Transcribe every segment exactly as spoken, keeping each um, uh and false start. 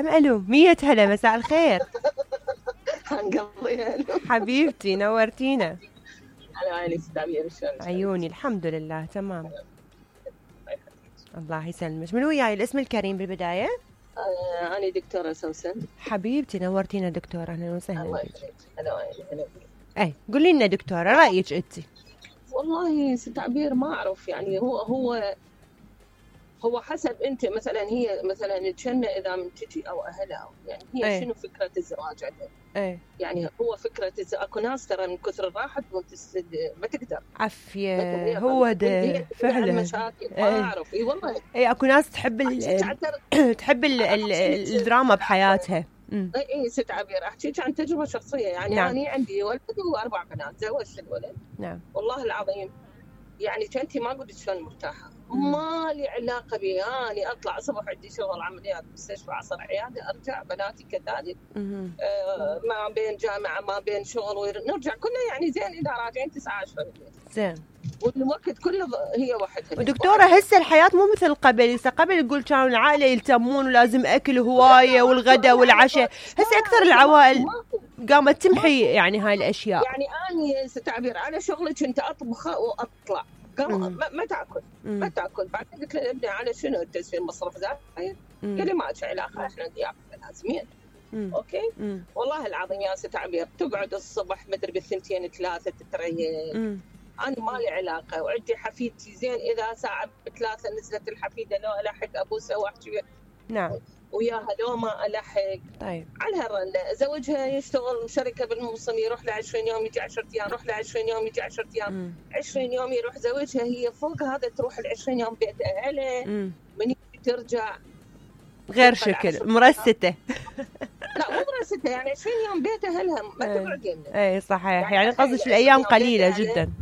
هم الو مية هلا مساء الخير. هنقضي حبيبتي نورتينا. على عيني ست عبير شلونك؟ عيوني الحمد لله تمام. الله يسلمك. من وياي الاسم الكريم بالبداية؟ آه أنا دكتورة سوسن. حبيبتي نورتينا دكتورة، أهلا وسهلا الله بك. يخليك. هلا وعيني هلا بك. أي قولي لنا دكتورة رأيك أنت. والله ست عبير ما أعرف يعني هو هو هو حسب أنت مثلا هي مثلا الجنة إذا من تجي أو أهلها يعني هي أي. شنو فكرة الزواج عندها؟ أي. يعني هو فكرة الز... أكو ناس ترى من كثر الراحة تقوم تسد ما تقدر. عافية هو ده فعلا. مشاكل ما أعرف إي والله. إي أكو ناس تحب ال تحب ال ال الدراما بحياتها. اي اي ست عبير احكيك عن تجربه شخصيه يعني. نعم. انا عندي ولد واربع بنات، زوجت الولد. نعم. والله العظيم يعني كنتي ما قلت شلون مرتاحه. ما لي علاقه بي، اني اطلع الصبح عندي شغل عمليات مستشفى عصر عياده، ارجع بناتي كذلك. آه ما بين جامعه ما بين شغل نرجع كلنا يعني زين اذا راجعين تسعة عشرة بالليل. زين. والوقت كله هي وحدها. ودكتوره هسه الحياه مو مثل قبل، هسه قبل يقول كانوا العائله يلتمون ولازم اكل هوايه والغداء والعشاء، هسه اكثر العوائل قامت تمحي يعني هاي الاشياء. يعني اني تعبير على شغلي كنت اطبخ واطلع قام ما, ما تاكل مم. ما تاكل. بعدين قلت له ابني على شنو التسويق مصرف زايد؟ قال لي ما لك علاقه احنا ضيافه لازمين. اوكي مم. والله العظيم يا ست عبير تقعد الصبح مدري بالثنتين ثلاثه تتريق. انا ما لي علاقه وعندي حفيدتي زين اذا ساعه بثلاثه نزلت الحفيده لو الحق ابوسها واحكي. نعم. وياها لو ما الحق. طيب. على هالرنه زوجها يشتغل شركه بالموسم يروح له عشرين يوم يجي عشرة ايام، يروح له عشرين يوم يجي عشرة ايام. مم. عشرين يوم يروح زوجها، هي فوق هذا تروح ال عشرين يوم بيت اهلها. من ترجع غير شكل مرسته. لا مو مرسته يعني عشرين يوم بيت اهلها ما تقعد يمنا. اي صحيح يعني قصدك الايام قليله جدا.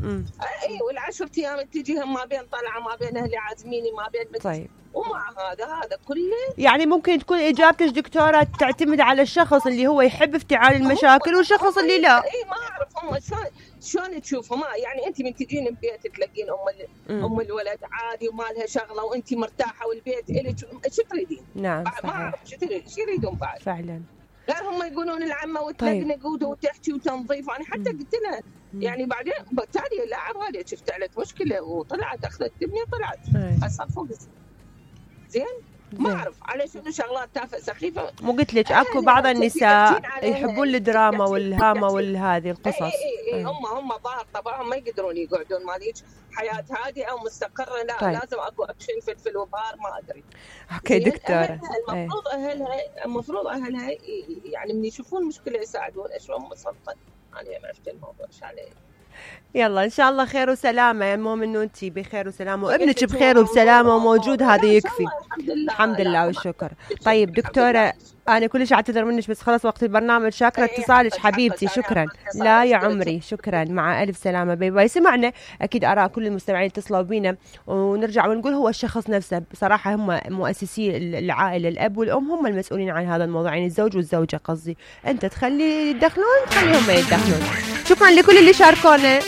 اي والعشر ايام تجيها ما بين طلعه ما بين اهلي عازميني ما بين مت... طيب. ومع هذا هذا كله يعني ممكن تكون اجابتك دكتوره تعتمد على الشخص اللي هو يحب افتعال المشاكل والشخص اللي لا. اي ما اعرف هم شلون شلون تشوفهم. يعني انت من تجين البيت تلاقين ام ام الولد عادي وما لها شغله وانت مرتاحه والبيت الك شو تريدين؟ نعم صحيح. ما اعرف شو شو يريدون بعد فعلا. غير هم يقولون العمه وتنقنق طيب. وتحكي وتنظيف. انا حتى قلت لها يعني بعدين بالتالي لا عوالي شفت عليك مشكله وطلعت اخذت ابني طلعت هسه فوق زين. ما اعرف على شنو شغلات تافهه سخيفه. مو قلت لك اكو بعض النساء يحبون الدراما والهامه والهذه القصص. اي اي اي هم هم ظاهر طبعهم ما يقدرون يقعدون ماليك حياه هادئه ومستقره. لا طيب. لازم اكو اكشن فلفل وبار ما ادري. اوكي دكتوره المفروض اهلها المفروض اهلها يعني من يشوفون مشكله يساعدون. شلون مسلطه انا ما عرفت الموضوع ايش عليه. يلا ان شاء الله خير وسلامه. المهم انه انت بخير وسلامه وابنك بخير وبسلامه وموجود، هذا يكفي. الحمد لله الحمد لله والشكر. طيب دكتوره انا كلش اعتذر منك بس خلص وقت البرنامج. شاكره اتصالك حبيبتي. شكرا. لا يا عمري شكرا. مع الف سلامه. باي باي. سمعنا اكيد اراء كل المستمعين اتصلوا بينا ونرجع ونقول هو الشخص نفسه بصراحه هم مؤسسي العائله الاب والام هم المسؤولين عن هذا الموضوع يعني الزوج والزوجه قصدي. انت تخلي يدخلون تخليهم ما يدخلون. شكرا لكل اللي شاركونا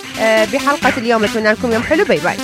بحلقه اليوم. اتمنى لكم يوم حلو. باي باي.